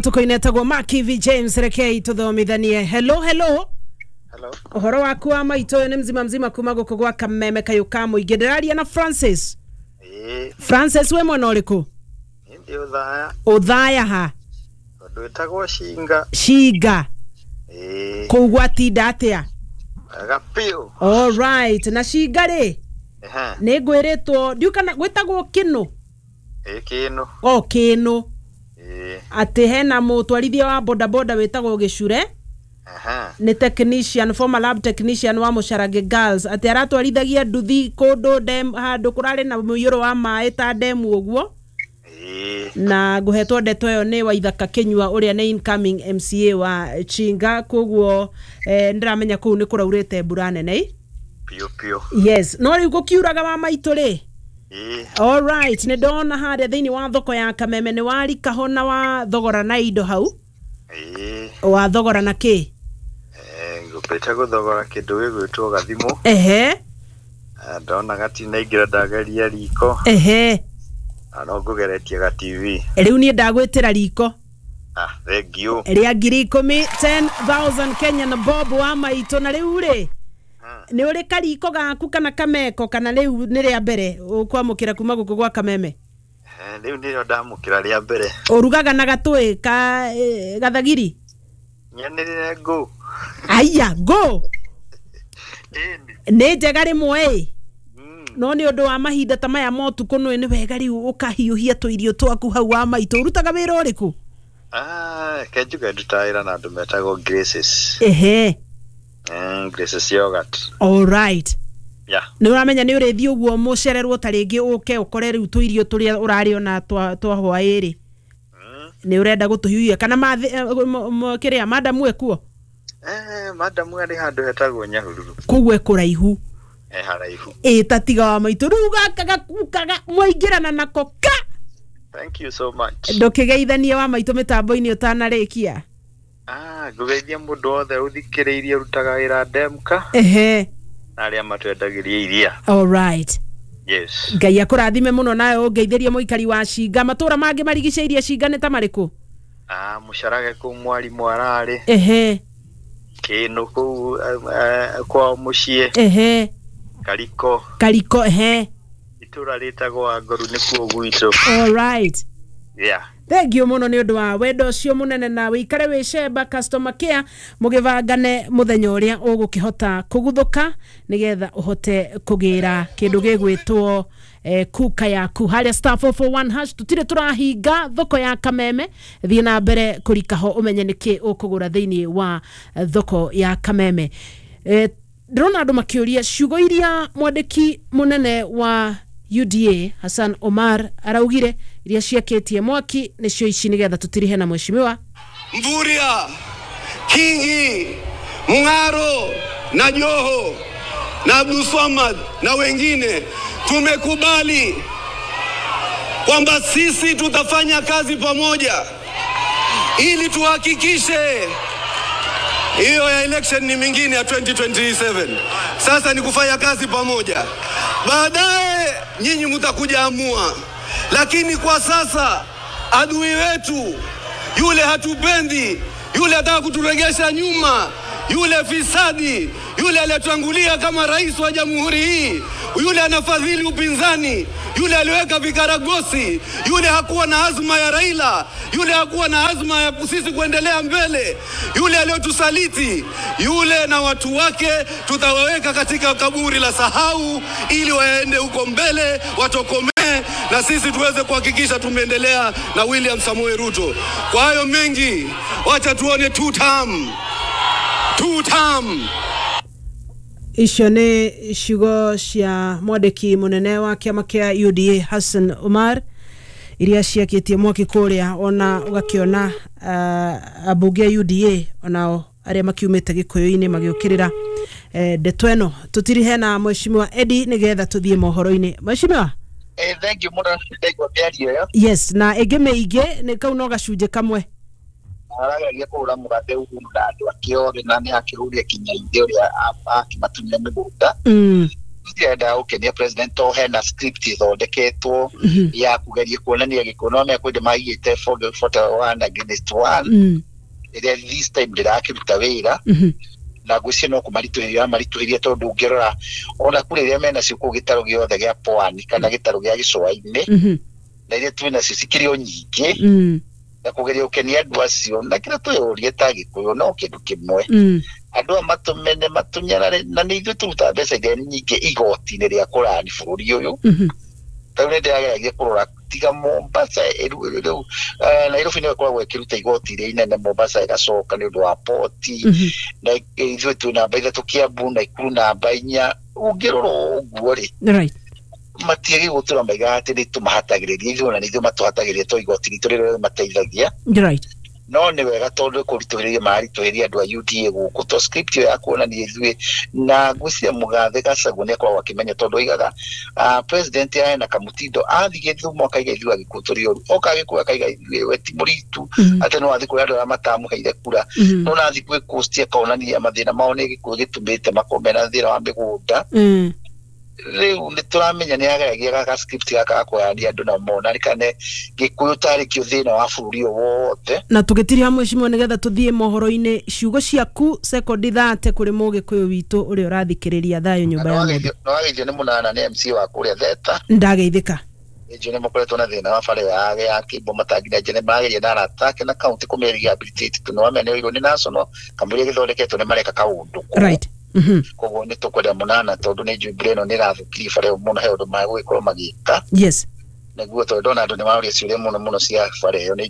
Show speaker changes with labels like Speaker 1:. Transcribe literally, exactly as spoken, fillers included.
Speaker 1: Tukoinetagwo Makivi James, rekei tuthomithanie. Hello, hello.
Speaker 2: Hello.
Speaker 1: Uhoro waku wa maitũ, ũyũ nĩ mzima mzima kuma gũkũ gwa Kameme kayũ ka mũingĩ. Ndĩraria na Francis.
Speaker 2: Ĩĩ.
Speaker 1: Francis, wĩ mwena ũrĩkũ?
Speaker 2: Niĩ ndĩ Ũthaya.
Speaker 1: Ũthaya ha?
Speaker 2: Tondũ ĩtagwo Cinga.
Speaker 1: Cinga.
Speaker 2: Ĩĩ.
Speaker 1: Kũu gwatinda atĩa?
Speaker 2: Wega biũ.
Speaker 1: All right, na Cinga rĩ,
Speaker 2: Ehe.
Speaker 1: nĩ ngwĩrĩtwo ndiũkana gwĩtagwo kĩnũ.
Speaker 2: Ĩĩ, kĩnũ.
Speaker 1: O kĩnũ.
Speaker 2: Ĩĩ.
Speaker 1: Atĩ hena mũtwarithia wa bodaboda wĩtagwo Gĩcure.
Speaker 2: Ehe.
Speaker 1: Nĩ technician, former lab technician wa Mũcarange Girls, atĩ aratwarithagia nduthi kũndũ dem, handũ kũrarĩ na mũiyũro wa maĩ ta demu ũguo.
Speaker 2: Ĩĩ.
Speaker 1: Na ngũhetwo ndeto ĩyo nĩ Waithaka Kĩnyua ũrĩa nĩ incoming M C A wa Chinga, koguo eh, ndĩramenya kũu nĩ kũraurĩte mbura nene ĩ.
Speaker 2: Biũ biũ.
Speaker 1: Yes, no rĩu gũkiuraga wa maitũ rĩ.
Speaker 2: Ĩĩ.
Speaker 1: Alright, nĩ ndona harĩa thĩinĩ wa thoko ya Kameme nĩ warikaho na wa thogora na indo hau.
Speaker 2: Ĩĩ.
Speaker 1: Wa thogora na kĩ?
Speaker 2: Eh, ngũmbĩte gũthogora kĩndũ gĩgwĩtwo gathimũ.
Speaker 1: Ehe.
Speaker 2: Eh, ndona gatinaingĩra, ndageria riko.
Speaker 1: Ehe.
Speaker 2: Na no ngũgeretie ga T V.
Speaker 1: Rĩu niĩ ndagwĩtĩra riko.
Speaker 2: Ah, thank you.
Speaker 1: Rĩa ngiri ikũmi, ten thousand Kenyan bob wa maitũ. Na rĩu rĩ, nĩ ũrĩ kariko gaku kana kameko, kana rĩu nĩ rĩa mbere ũkwamũkĩra kuma gũkũ gwa Kameme?
Speaker 2: Eh, rĩu nĩrĩo ndamũkĩra rĩa mbere.
Speaker 1: Ũrugaga na gatũĩ ka eh, gathagiri?
Speaker 2: Nyanĩrĩre ngũ.
Speaker 1: Aya ngũ.
Speaker 2: Ĩni.
Speaker 1: Nĩ njega rĩmwe ĩ.
Speaker 2: Mm.
Speaker 1: No nĩ ũndũ wa mahinda ta maya ma ũtukũ nĩ nĩ wega rĩu ũkahiũhia tũirio twaku hau wa maitũ. Ũrutaga wĩra ũrĩkũ?
Speaker 2: Ah, ke njuge ndutaga wĩra na andũ metagwo Graces.
Speaker 1: Ehe.
Speaker 2: Mm, Graces Yogurt.
Speaker 1: Alright.
Speaker 2: Yeah.
Speaker 1: Nĩ ũramenya nĩ ũrĩthiĩ ũguo mũcererwo ta rĩngĩ ũke ũkore rĩu tũirio tũrĩa ũrarĩ ona twa twa hwaĩ-rĩ,
Speaker 2: Mm.
Speaker 1: nĩ ũrenda gũtũhiũhia kana mathi- eh, m- m- kĩrĩa madamu ekuo?
Speaker 2: Eh, madamu arĩ handũ hetagwo Nyahururu.
Speaker 1: Koguo ekũraihu.
Speaker 2: Eh, haraihu.
Speaker 1: Ĩ, ta tiga wa maitũ, rĩu gaka gakukaga mwaingĩrana nako ka.
Speaker 2: Thank you so much.
Speaker 1: Ndũkĩgeithanie wa maitũ mĩtambo-inĩ ũtanarĩkia.
Speaker 2: Ah, ngũgeithia mũndũ wothe ũthikĩrĩirie ũrutaga wĩra Demka
Speaker 1: Ehe.
Speaker 2: na arĩa matwendagĩria iria.
Speaker 1: Alright.
Speaker 2: Yes.
Speaker 1: Ngai akũrathime mũno, nawe ũngeithĩrie mũikari wa Cinga. Matũra mangĩ marigicĩirie Cinga nĩ ta marĩkũ?
Speaker 2: Ah, mũcarage kũu mwarimũ ararĩ.
Speaker 1: Ehe.
Speaker 2: Kĩnũ kũu eh, eh, kwao mũciĩ.
Speaker 1: Ehe.
Speaker 2: Kariko.
Speaker 1: Kariko, ehe.
Speaker 2: Itũra rĩtagwo Angoru nĩkuo gwitũ.
Speaker 1: Alright.
Speaker 2: Yeah.
Speaker 1: Thank you mũno nĩ ũndũ wa wendo ũcio mũnene, na wĩikare wĩ cemba customer care mũgĩbangane mũthenya ũrĩa ũgũkĩhota kũguthũka nĩgetha ũhote kũgĩra kĩndũ gĩgwĩtwo eh, kuka yaku harĩa star four four one hash. Tũtirĩ tũrahinga thoko ya Kameme, thiĩ na mbere kũrikaho ũmenye nĩkĩ ũkũgũra thĩinĩ wa eh, thoko ya Kameme. eh, ndĩrona andũ makĩũria ciugo iria mwandĩki mũnene wa U D A Hassan Omar araugire iria ciakĩtie mwaki nĩcio ici, nĩgetha tũtirihe na mheshimiwa.
Speaker 3: Mvurya, Kingi, Mung'aro na Joho na Abdulswamad na wengine tumekubali kwamba sisi tutafanya kazi pamoja ili tuhakikishe hiyo ya election ni mingine ya elfu mbili ishirini na saba. Sasa ni kufanya kazi pamoja. Baadaye nyinyi mtakuja amua, lakini kwa sasa adui wetu yule hatupendi, yule ataka kuturegesha nyuma, yule fisadi, yule aliyetangulia kama rais wa jamhuri hii, yule anafadhili upinzani, yule aliweka vikaragosi, yule hakuwa na azma ya Raila, yule hakuwa na azma ya sisi kuendelea mbele, yule aliyotusaliti, yule na watu wake tutawaweka katika kaburi la sahau, ili waende huko mbele watokomee na sisi tuweze kuhakikisha tumeendelea na William Samoei Ruto. Kwa hayo mengi, wacha tuone two term. Two term.
Speaker 1: Icio nĩ ciugo cia mwandĩki mũnene wa kĩama kĩa U D A Hassan Omar iria ciakĩtie mwaki kũrĩa, ona ũgakĩona uh, ambunge a U D A onao arĩa makiumĩte gĩkũyũ-inĩ magĩũkĩrĩra eh, ndeto ĩno. Tũtirihe na mheshimiwa Eddie nĩgetha tũthiĩ mohoro-inĩ. Mheshimiwa.
Speaker 4: Eh, thank you mũno, ndaigua mĩario ĩyo.
Speaker 1: Yes, na ĩngĩ mĩingĩ nĩ kau no gacunjĩ kamwe.
Speaker 4: Arageria kũgũra mũgate Uhuru na andũ ake othe, na nĩ akĩhũria kinya ithe ũrĩa akĩmatunya mĩgũnda.
Speaker 1: mm.
Speaker 4: Ngwĩciria gũkenia president to hena script ĩthondeketwo
Speaker 1: Mhm.
Speaker 4: ya kũgeria kuonania gĩkũyũ no mea kwĩndĩ maigĩte forty one against one
Speaker 1: Mm.
Speaker 4: ĩrĩa this time ndĩrakĩruta wĩra.
Speaker 1: Mhm.
Speaker 4: Na ngwĩciria no kũmaritũhĩria maritũhĩria, tondũ ũngĩrora ona kũrĩ iria menacio kũu gĩtarũ gĩothe gĩa pwani kana gĩtarũ gĩa gĩcũa-inĩ
Speaker 1: Mhm.
Speaker 4: na iria twĩ nacio cikĩrĩ o nyingĩ
Speaker 1: Mm.
Speaker 4: na kũgeria gũkenia andũ acio. Na kĩrĩa twĩyũrie ta gĩkũyũ no kĩndũ kĩmwe,
Speaker 1: Mm.
Speaker 4: andũ aya matũmene matũnyarare, na nĩ ithuĩ tũrutaga mbeca iria nyingĩ igoti-inĩ rĩa kũrani bũrũri ũyũ.
Speaker 1: Mhm.
Speaker 4: Tarĩu nĩ ndĩrageragia kũrora tiga Mombasa ĩru- rĩu eh, Nairobi nĩyo ĩkoragwo ĩkĩruta igoti iria inene, Mombasa ĩgacoka nĩ ũndũ wa poti,
Speaker 1: Mhm.
Speaker 4: na ithuĩ twĩ namba ithatũ, Kiambu Naikuru namba inya. Ũngĩrora ũguo rĩ,
Speaker 1: Right.
Speaker 4: matiagĩ gũtũra maigaga atĩ nĩ tũmahatagĩrĩria ithuĩ, ona nĩ ithuĩ matũhatagĩrĩria to igoti ritũ rĩrĩa mateithagia.
Speaker 1: Right.
Speaker 4: No nĩ wega tondũ kũritũhĩria maritũhĩria andũ a U D A gũkũ to script ĩyo ya kuonania ithuĩ, na ngwĩciria Mũgathe Gachagua nĩ akoragwo akĩmenya, tondũ oigaga uh, president ena kamũtindo athiĩ Gĩthumo akaiga ithuĩ Agĩkũyũ tũrĩ oru, oka Gĩkũyũ akaiga ithuĩ we ti mũritu,
Speaker 1: Mhm.
Speaker 4: atĩ no athiĩ kũrĩ andũ arĩa matamũheire kura,
Speaker 1: Mhm.
Speaker 4: no nathiĩ gwĩ Coast akonania mathĩna mao nĩ Gĩkũyũ gĩtũmĩte makorwo mena thĩna wa mĩgũnda.
Speaker 1: Mm.
Speaker 4: Rĩu nĩ tũramenya nĩ ageragia gaka script gaka gakũyania andũ na monarikane Gĩkũyũ tarĩ kĩo thĩna wa bũrũri ũyũ wothe.
Speaker 1: Na tũgĩtiriha mwecimio nĩgetha tũthiĩ mohoro-inĩ, ciugo ciaku sekondi thate kũrĩ mũgĩkũyũ witũ ũrĩa ũrathikĩrĩria thayũ nyũmba ya mũndũ.
Speaker 4: Nĩwageithio nĩ mũnana nĩ M C wa kũrĩa Theta.
Speaker 1: Ndageithĩka.
Speaker 4: Nĩnjũĩ nĩ makoretwo na thĩna wa bara ya ya Kĩmbo matangi na nĩ mageria na arata ake na kaunti kũmĩ rehabilitate tondũ nĩwamenya nĩ oirwo nĩ national kamũira gĩthondeketwo nĩ mareka kaũndũ kũu.
Speaker 1: Right. Mhm.
Speaker 4: Koguo nĩ tũkwenda mũnana tondũ nĩ njũĩ mbura ĩno nĩ ĩrathũkirie bara ĩyo mũno, he ũndũ magũgĩkorwo magĩka
Speaker 1: Yes.
Speaker 4: nĩguo, tondũ ndona andũ nĩ maroria ciũria mũno mũno cia bara ĩyo nĩ